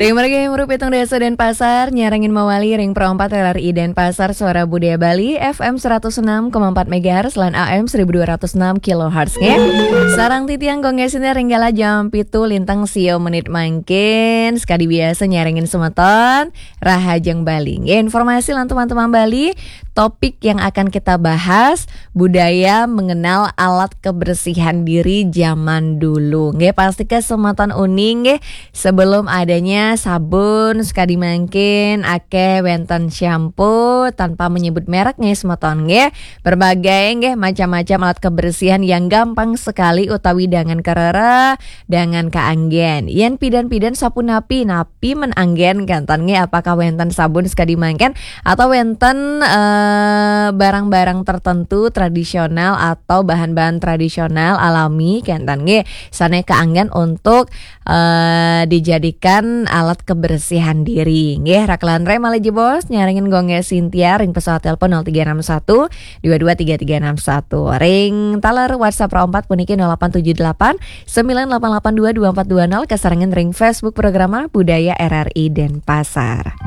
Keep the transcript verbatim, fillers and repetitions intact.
Ring mergi muru pitung dasa Denpasar, nyarengin mawali ring Pro empat R R I Denpasar, Suara Budaya Bali, F M seratus enam koma empat megahertz lan A M seribu dua ratus enam kilohertz nggih. Sareng titiang Gung Gesin ring galah jam pitu lintang sio menit mangkin, sekadi biasa nyarengin semeton, Rahajeng Bali. Nggih, informasi lan teman-teman Bali, topik yang akan kita bahas, budaya mengenal alat kebersihan diri zaman dulu. Nggih, pasti ke semeton uning nggih, sebelum adanya sabun sekadi mangkin, akeh wenten shampoo, tanpa menyebut merek nggih semeton nggih. Berbagai nggih macam-macam alat kebersihan yang gampang sekali utawi dangan karereh, dangan kaanggen. Yen pidan-pidan sapunapi, napi men anggen kenten nggih, apakah wenten sabun sekadi mangkin atau wenten eh, barang-barang tertentu tradisional atau bahan-bahan tradisional alami kenten nggih, sane kaanggen untuk eh, dijadikan alat kebersihan diri nggih. Rakelan re malih jebos nyarengin Gung Gesin Sintia ring pesawat telepon nol tiga enam satu dua dua tiga tiga enam satu, ring taler WhatsApp Pro empat puniki nol delapan tujuh delapan sembilan delapan delapan dua dua empat dua nol, kasarengin ring Facebook Programa Budaya R R I Denpasar.